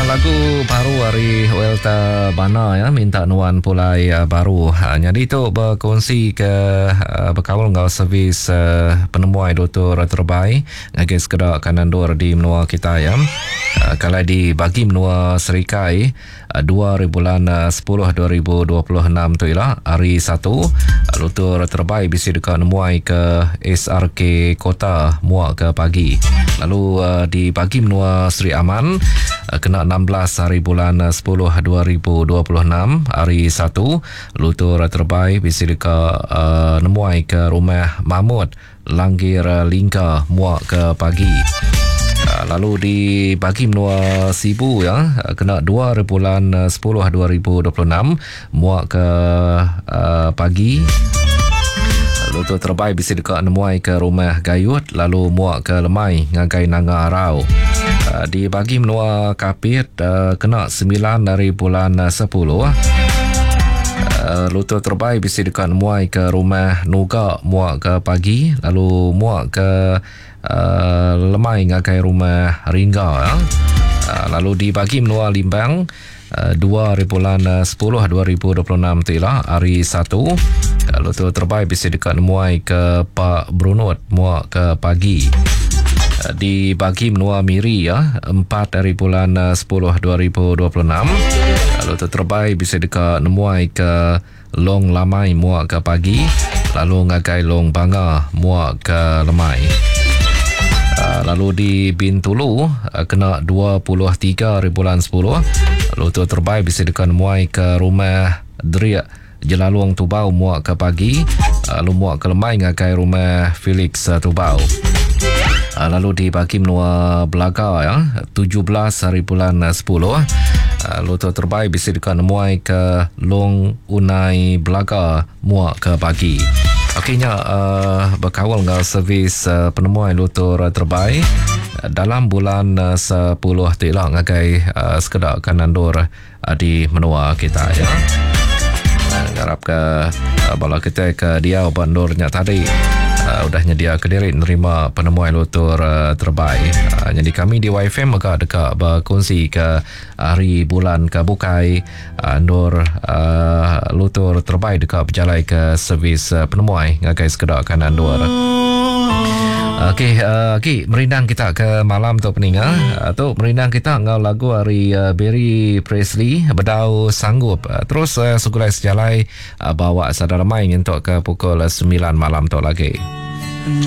lagu baru ari Welta Bana ya minta nuan pulai uh, baru. Uh, jadi tu berkongsi ke uh, berkaul enggau servis uh, penemuai Dr. Terbai ngagai sekeda kanandur di menua kita ya. Uh, kalau di bagi menua Serikai Dua ari bulan sepuluh 2026 tu ila, hari Satu, lutur terebai bisi deka nemuai ke SRK Kota muak ke pagi. Lalu di bagi menua Sri Aman, kena 16 hari bulan sepuluh 2026, hari Satu, lutur terebai bisi deka nemuai ke Rumah Mamut, Langgir Lingka muak ke pagi. Lalu di bagi menua Sibu ya kena 2 hari bulan 10 2026 muak ke uh, pagi. Lalu tu terbai bisi deka nemuai ke rumah Gayut lalu muak ke lemai ngagai Nanga Arau. Uh, di bagi menua Kapit uh, kena 9 hari bulan 10 Lutur terbai bisi deka nemuai ke rumah Nuga muak ke pagi lalu muak ke uh, lemai ngagai rumah Ringga. Ya. Uh, lalu di bagi menua Limbang uh, 2 hari bulan 10 2026 tu ila hari 1 Lutur terbai bisi deka nemuai ke Pak Brunut muak ke pagi. Di bagi menua Miri ya, 4 hari bulan 10 2026. Lalu tu terbai bisi deka nemuai ke Long Lamai muak ke pagi lalu ngagai Long Banga muak ke lemai. Lalu di Bintulu kena 23 hari bulan 10 lalu tu terbai bisi deka nemuai ke rumah Deriak Jelalung Tubau muak ke pagi lalu muak ke lemai ngagai rumah Felix Tubau. Lalu di bagi menua Belaga ya 17 hari bulan 10 lalu tu terbai bisi deka nemuai ke Long Unai Belaga muak ke pagi. Okey nya uh, bekaul enggau servis uh, penemuai lutur terbai dalam bulan uh, 10 ti ila ngagai uh, sekeda kanandur di menua kita ya. Ngarap ke bala kita ke diau ba endur nya tadi uh, udah nyedia ke diri nerima penemuai lutur uh, terbai. Uh, jadi kami di YFM mega deka berkongsi ke hari bulan ke bukai uh, endur uh, lutur terbai deka berjalai ke servis uh, penemuai ngagai sekeda kanan endur. Okey, uh, agi merindang kita ke malam tu peninga. Uh, tu merindang kita enggau lagu ari uh, Barry Presley bedau sanggup. Uh, terus uh, segulai sejalai uh, bawa sadar lemai nyentuk ke pukul 9 malam tu lagi.